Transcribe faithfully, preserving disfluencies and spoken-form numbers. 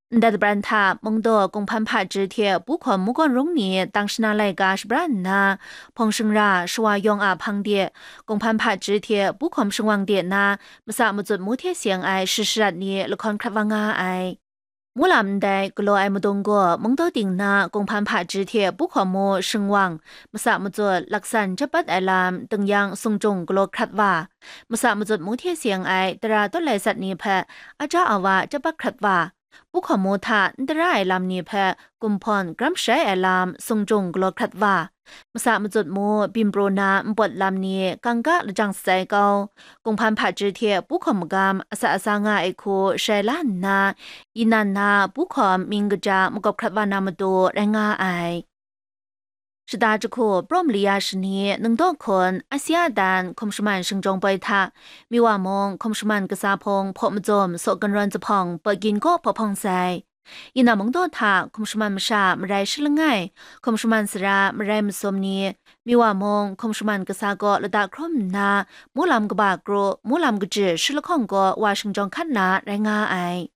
Ndai dabran hta mungdaw Kunghpan Hpaji hte Pu Hkawm Mungkan Rung ni tang shana laika shabran nna, hpawng shingra shawa yawng a hpang de, Kunghpan Hpaji hte Pu Hkawm Shingwang de na masa matsut mu hte seng ai shi sharat ni lahkawn hkrat wa nga ai. Mulam ndai galaw ai madung gaw mungdaw ting na Kunghpan Hpaji hte Pu Hkawm Mu Shingwang masa matsut laksan jep bat ai lam tingyang sung jung galaw hkrat wa, masa matsut mu hte seng ai tara tawt lai sat ni hpe aja awa jep bat hkrat wa, Pu Hkawm Mu hta n tara ai lam ni hpe gumhpawn gram sharai ai lam sung jung galaw hkrat wa, masa matsut mu byin pru na npawt lam ni kangka lajang shatsai kau, Kunghpan Hpaji hte Pu Hkawm magam asa asa nga ai hku sharai la nna, inan na Pu Hkawm mying kaja makawp hkrat wa na matu rai nga ai. Shata jahku, Praw mali ya shani, Nungdaw hkun, Asia dan, hkum shaman shingjawng poi hta, Miwa mung hkum shaman kasa hpung hpaw mazum saw gunrawn zuphpawng Pakyin kaw hpaw hpawng sai. Ina mungdaw hta hkum shaman masha marai shi langai, hkum shaman sara marai masum ni, Miwa mung hkum shaman kasa kaw lata hkrum nna, mulam kaba kru, mulam kaji shi lahkawng kaw wa shingjawng hkan na rai nga ai.